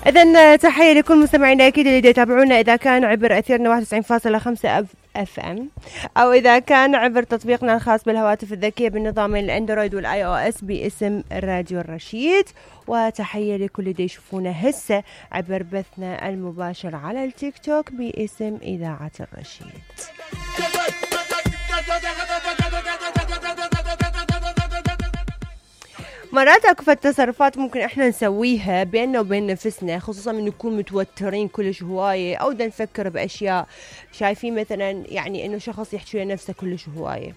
إذن تحية لكل مستمعينا أكيد اللي يتابعونا إذا كان عبر أثيرنا 91.5 اف ام، أو إذا كان عبر تطبيقنا الخاص بالهواتف الذكية بالنظام الأندرويد والآي أو إس باسم راديو الرشيد. وتحية لكل اللي يشوفونا هسه عبر بثنا المباشر على التيك توك باسم إذاعة الرشيد. مرات اكو تصرفات ممكن احنا نسويها بيننا وبين نفسنا، خصوصا من نكون متوترين كلش هوايه او دا نفكر باشياء شايفين مثلا يعني انه شخص يحكي ويا نفسه كلش هوايه،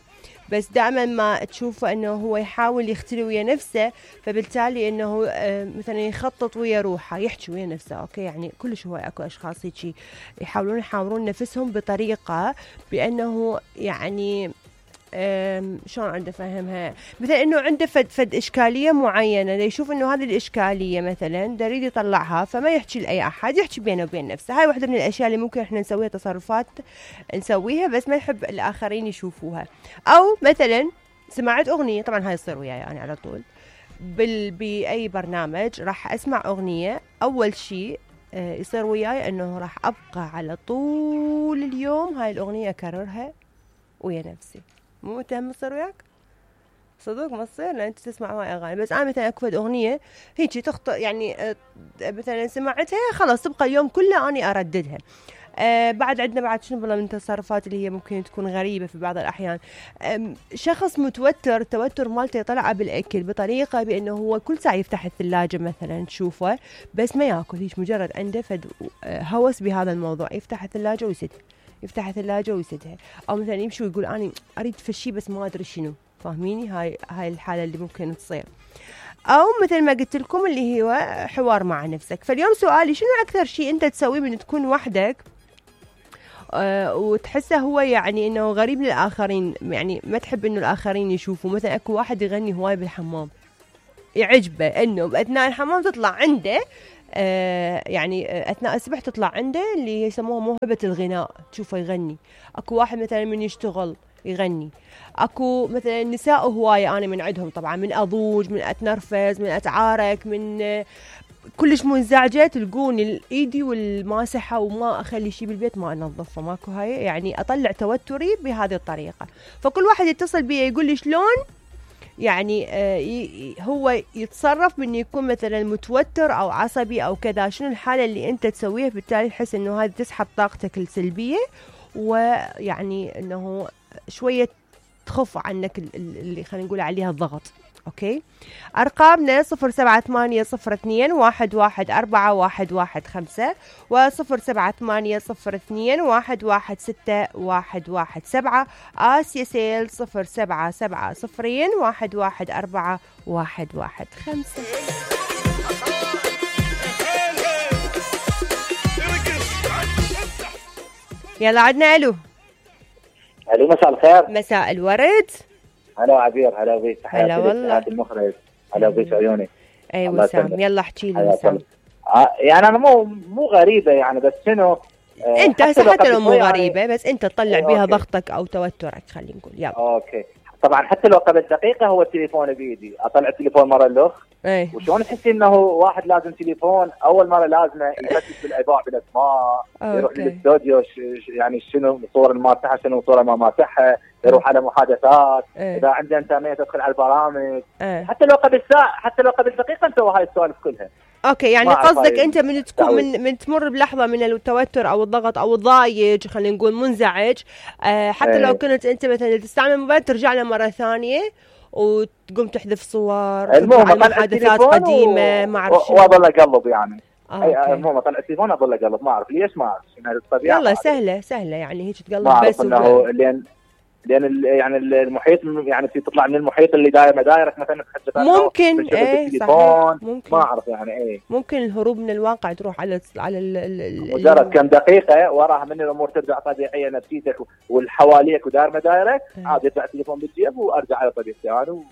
بس دائما ما تشوفه انه هو يحاول يختلي ويا نفسه، فبالتالي انه مثلا يخطط ويا روحه يحكي ويا نفسه. اوكي يعني كلش هوايه اكو اشخاص هيك يحاولون نفسهم بطريقه بانه يعني شلون عنده فهمها، مثلا انه عنده فد اشكاليه معينه، يشوف انه هذه الاشكاليه مثلا يريد يطلعها، فما يحكي لاي احد، يحكي بينه وبين نفسه. هاي واحده من الاشياء اللي ممكن احنا نسويها، تصرفات نسويها بس ما نحب الاخرين يشوفوها. او مثلا سمعت اغنيه، طبعا هاي يصير وياي يعني على طول باي برنامج راح اسمع اغنيه، اول شيء يصير وياي انه راح ابقى على طول اليوم هاي الاغنيه اكررها ويا نفسي. مو متهم تصير وياك؟ صدق ما تصير لان انت تسمع هواي اغاني، بس انا مثلا اكو اغنيه هيك تخطئ يعني مثلا سمعتها خلاص تبقى اليوم كله اني ارددها. بعد عندنا بعد شنو والله من التصرفات اللي هي ممكن تكون غريبه في بعض الاحيان. شخص متوتر، التوتر مالته يطلع بالاكل بطريقه بانه هو كل ساعه يفتح الثلاجه مثلا تشوفه بس ما ياكل، هيك مجرد عنده فد هوس بهذا الموضوع، يفتح الثلاجه ويسدها، يفتح الثلاجة ويسدها، أو مثلا يمشي ويقول أنا أريد فشي بس ما أدري شنو. فاهميني؟ هاي الحالة اللي ممكن تصير. أو مثل ما قلت لكم اللي هو حوار مع نفسك. فاليوم سؤالي شنو أكثر شيء أنت تسويه من تكون وحدك وتحسه هو يعني إنه غريب للآخرين، يعني ما تحب إنه الآخرين يشوفوا. مثلا أكو واحد يغني هواي بالحمام، يعجبه إنه بأثناء الحمام تطلع عنده يعني أثناء السبح تطلع عنده اللي يسموها موهبة الغناء، تشوفه يغني. أكو واحد مثلا من يشتغل يغني. أكو مثلا نساء هواية أنا من عندهم طبعا، من أضوج، من أتنرفز، من أتعارك، من كلش منزعجة تلقوني ايدي والماسحة وما أخلي شي بالبيت ما أنظفه، ماكو هاي يعني أطلع توتري بهذه الطريقة. فكل واحد يتصل بي يقول لي شلون يعني هو يتصرف من يكون مثلا متوتر او عصبي او كذا، شنو الحالة اللي انت تسويها بالتالي تحس انه هذا تسحب طاقتك السلبية ويعني انه شوية تخف عنك اللي خلينا نقول عليها الضغط. اوكي، ارقامنا 0780211415 و0780211617 آسيا سيل 0770114115. يلا عدنا الو. مساء الخير. مساء الورد. هلا عبير، هلا بيك، هلا والله المخرج، هلا بيك عيوني. اي وسام، يلا احكي لي وسام. يعني انا مو غريبه يعني، بس شنو انت حتى لو مو غريبه يعني، بس انت تطلع بيها ضغطك او توترك خلينا نقول. يلا اوكي، طبعا حتى لو قبل دقيقه هو التليفون بيدي، اطلع التليفون مره الاخ. وشلون تحسي انه واحد لازم تليفون اول مره لازمه يركز بالايضاع بالاسماء، يروح للاستوديو يعني شنو صور الماسحه شنو صوره ما ماسحها، يروح على محادثات، اذا عنده انترنت يدخل على البرامج. حتى لو قبل ساعه، حتى لو قبل دقيقه نسوي هاي السوالف كلها. اوكي، يعني قصدك انت من تكون من تمر بلحظه من التوتر او الضغط او الضايج خلينا نقول منزعج، حتى لو كنت انت مثلا تستعمل الموبايل ترجع له مره ثانيه وتقوم تحذف صور، المهم محادثات قديمه ما اعرف شنو، واضل اقلب يعني. المهم اطلع التليفون اظل اقلب، ما اعرف ليش، ما اعرف شنو الطبيعه. يلا سهله يعني هيك تقلب بس انه لان يعني المحيط يعني تطلع من المحيط اللي داير مدايرك مثلا ممكن التليفون، ممكن ما اعرف يعني ممكن الهروب من الواقع تروح على مجرد كم دقيقه وراها من الامور ترجع طبيعيه، نفسيتك والحواليك وداير مدايرك عادي يطلع التليفون بالجيب وارجع على طبيعتي انا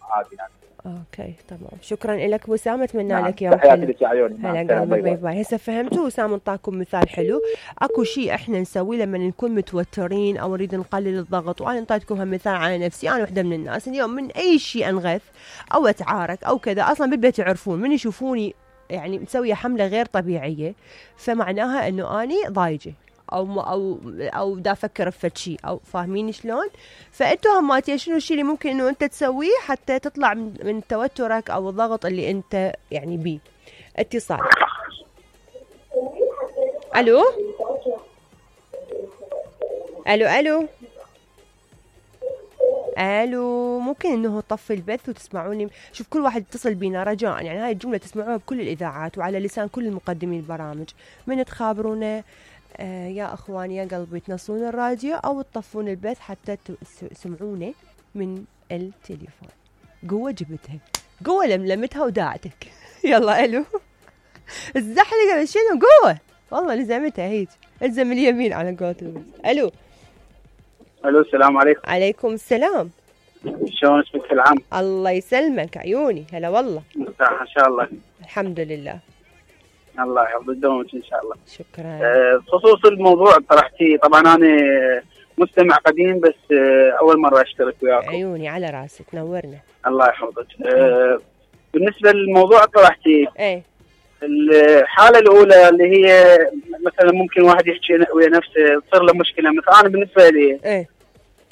وعادي يعني، اوكي تمام، شكرا لك وسام، اتمنى نعم. لك يوم حلو. تحياتي لك يا عيوني. هلا قلبي، باي باي. هسه فهمتوا وسام انطاكم مثال حلو. اكو شيء احنا نسويه لما نكون متوترين او نريد نقلل الضغط، وانا انطيتكم هم مثال على نفسي. انا وحده من الناس اليوم من اي شيء انغث او اتعارك او كذا، اصلا بالبيت يعرفون من يشوفوني يعني مسويه حمله غير طبيعيه، فمعناها انه اني ضايجه او دا افكر بفد شيء، او فاهمين شلون؟ فانتوا هماتي شنو الشيء اللي ممكن انه انت تسويه حتى تطلع من توترك او الضغط اللي انت يعني بيه. اتصال. الو الو الو الو، ممكن انه طفي البث وتسمعوني. شوف كل واحد يتصل بينا رجاء، يعني هاي الجمله تسمعوها بكل الاذاعات وعلى لسان كل المقدمين البرامج، من تخابرونا يا اخواني يا قلبي تنصون الراديو او تطفون البث حتى تسمعونه من التليفون. قوة جبتها، قوة لملمتها وداعتك. يلا الو. الزحلقة شنو قوة، والله لزمتها هيك، الزم اليمين على قولتهم. الو الو، السلام عليكم. عليكم السلام. شلون اسمك العام؟ الله يسلمك عيوني، هلا والله. مرتاح ان شاء الله. الحمد لله. الله يحفظ دومك ان شاء الله. شكرا. بخصوص الموضوع طرحتيه، طبعا انا مستمع قديم بس اول مره اشترك وياكم. عيوني على راسي، تنورنا. الله يحفظك. بالنسبه للموضوع طرحتيه، ايه الحاله الاولى اللي هي مثلا ممكن واحد يحكي ويا نفسه تصير له مشكله، مثلا انا بالنسبه لي ايه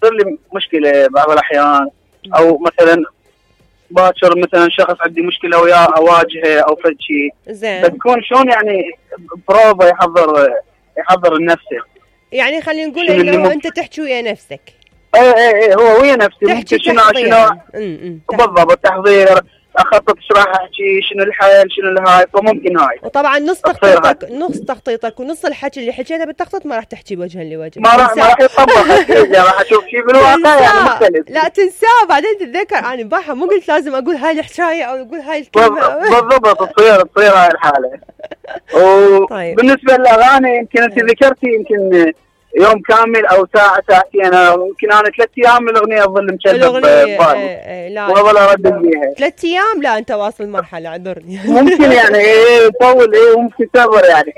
تصير لي مشكله بعض الاحيان، او مثلا باكر مثلا شخص عندي مشكله وياه اواجهه او فد شيء زين، بتكون شلون يعني بروفا يحضر لنفسه. يعني خلينا نقول انه انت تحكي ويا نفسك. ايه هو ويا نفسه تحكي شنو بالضبط التحضير، اخطط ايش راح احكي، شنو الحل، شنو الهاي، فممكن هاي. وطبعا نص تخطيطك ونص الحكي اللي حكيته بالتخطيط ما راح تحكي وجها لوجه، ما راح يطبق. راح اشوف شيء بالواقع يعني مختلف. لا تنساه بعدين تتذكر انا امبارح مو قلت لازم اقول هاي الحكايه او اقول هاي الكلمه. بالضبط تصير هاي الحاله. وبالنسبه للاغاني يمكن انت ذكرتي يمكن يوم كامل او ساعتين، يمكن انا 3 ايام الاغنيه اظل مشغل ببالي. لا واظل اردد بيها 3 ايام. لا انت واصل مرحله، اعذرني. ممكن يعني طول، ممكن تبر يعني.